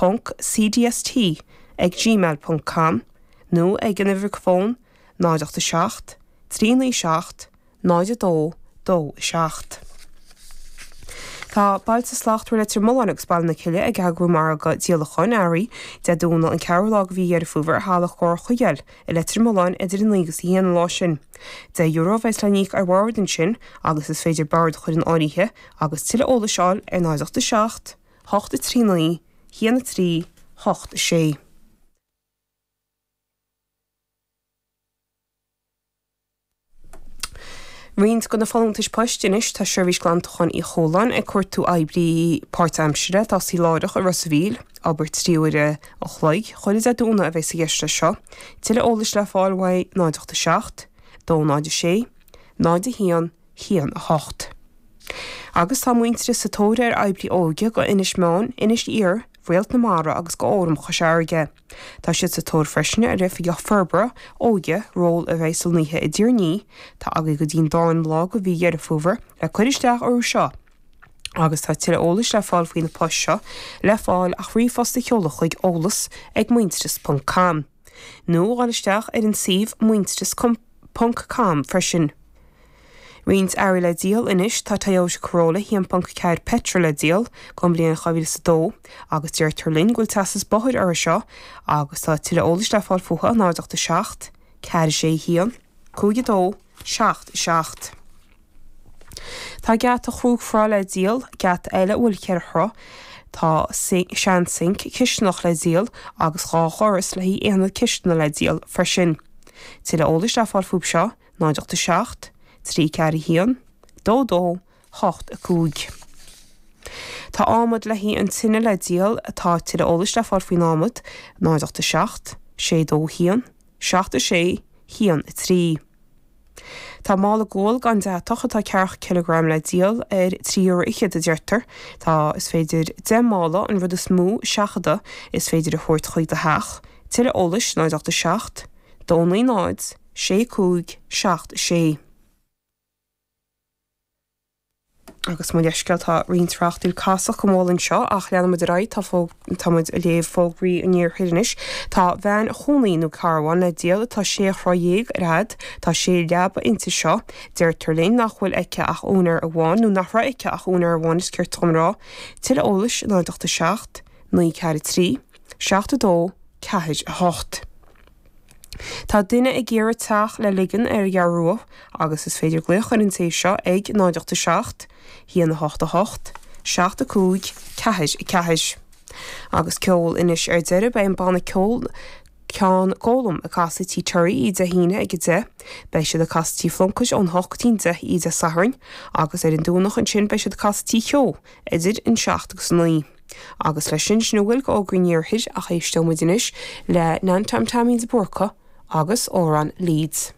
ponc cdst ag gmail ponc com nó ag an uimhir fóin 0 8 7 3 9 7 0 2 2 7. Tá Bailte Slachtmhara Leitir Mealláin agus Baile na Cille ag eagrú margadh díolacháin earraí Dé Domhnaigh an 4ú lá de mhí Dheireadh Fómhair i Halla Chomhair Chuigéil i Leitir Mealláin idir 9 agus 1 an lá sin. €10 a bheas le n-íoc ar bhord ansin agus is féidir bord a chur in áirithe agus tuilleadh eolais a fháil ar 0 8 7 8 3 9 1 3 8 6. Roinnt de na folúntais poist anois, tá Seirbhís Glantacháin Uí Chualáin ag cuartú oibrí páirtaimsire le tosaí láithreach i Ros a' Mhíl, obair 3 uaire an chloig chuile Dé Domhnaigh a bheas i gceist leis seo. Tuilleadh eolais le fáil uaidh 0 8 7 2 0 6 0 1 1 8. Agus tá Muintearas sa tóir ar oibrí óige go Inis Meáin, Inis Oírr, Réalt na Mara agus go Fhóram Chois Fharraige. Tá siad sa tóir freisin ar Oifigeach Forbartha Óige, ról a bheidh lonnaithe i dTír an Fhia. Tá agaibh go dtí'n darna lá de mhí Dheireadh Fómhair le cur isteach orthu seo agus tá tuilleadh eolais le fáil faoi na poist seo le fáil ach ríomhphost a sheoladh chuig eolas ag muintearas ponc com nó a dhul isteach ar an suíomh muintearas ponc com freisin. Roinnt earraí le díol anois, tá Toyota Corolla 1.4 petrol le díol, don bhliain 2002, agus deirtear linn go bhfuil teastas bóthair orthu seo agus tá tuilleadh eolais le fáil fúthu 0 8 7 4 6 1 5 2 7 7. Tá geata chúig throigh le díol, geata eile a bhfuil cheithre throigh, tá sean-sinc cisteanach le díol agus dhá dhoras le haghaidh aonad cisteanaí le díol freisin. Tuilleadh eolais le fáil fúthu seo. 0 8 7 3 4 1 2 2 8 5. Tá adhmad le haghaidh an tine le díol, tá tuilleadh eolais le fáil faoin adhmad, 0 8 7 6 2 1 7 6 1 3. Tá mála guail gan deatach atá ceathracha cileagram le díol ar 3 euro fhichead a deirtear. Tá, is féidir 10 mála, an rud is mó seachadadh is féidir a thabhairt chuig do theach. Tuilleadh eolais, 0 8 7 2 9 0 6 5 7 6. Agus mo leithscéal, tá roinnt tráchtaíl casacht go mall anseo ach leanfaidh muid ar aghaidh, tá fó, tá muid ag léamh fógraí an iarthair anois. Tá veain chónaí nó carbhán le díol atá sé throigh dhéag ar fhad, tá sé leaba inti seo. Deirtear linn nach bhfuil aici ach úinéir amháin, nó nach raibh aici ach úinéir amháin is ceart dom a rá. Tuilleadh eolais, 0 8 7 9 4 3 7 2 4 8. Tá duine ag iarraidh teach le ligean ar an gCeathrú Rua agus is féidir glaoch ar an té seo ag 0 8 7 1 8 8 7 5 4 4. Agus ceol anois ar deireadh, beidh an banna ceoil Ceann Gólaim ag casadh Tí Terry oíche Dé hAoine ag 10. Beidh siad ag casadh Tí Phluincéid ón 8 go dtí an 10 oíche Dé Sathairn agus ar an Domhnach ansin beidh siad ag casadh Tí Keogh idir an 7 agus 9. Agus leis sin, sin a bhfuil d'fhógraí an iarthair ach éisteoidh muid anois le Nan Tom Taimín de Búrca agus amhrán Leeds.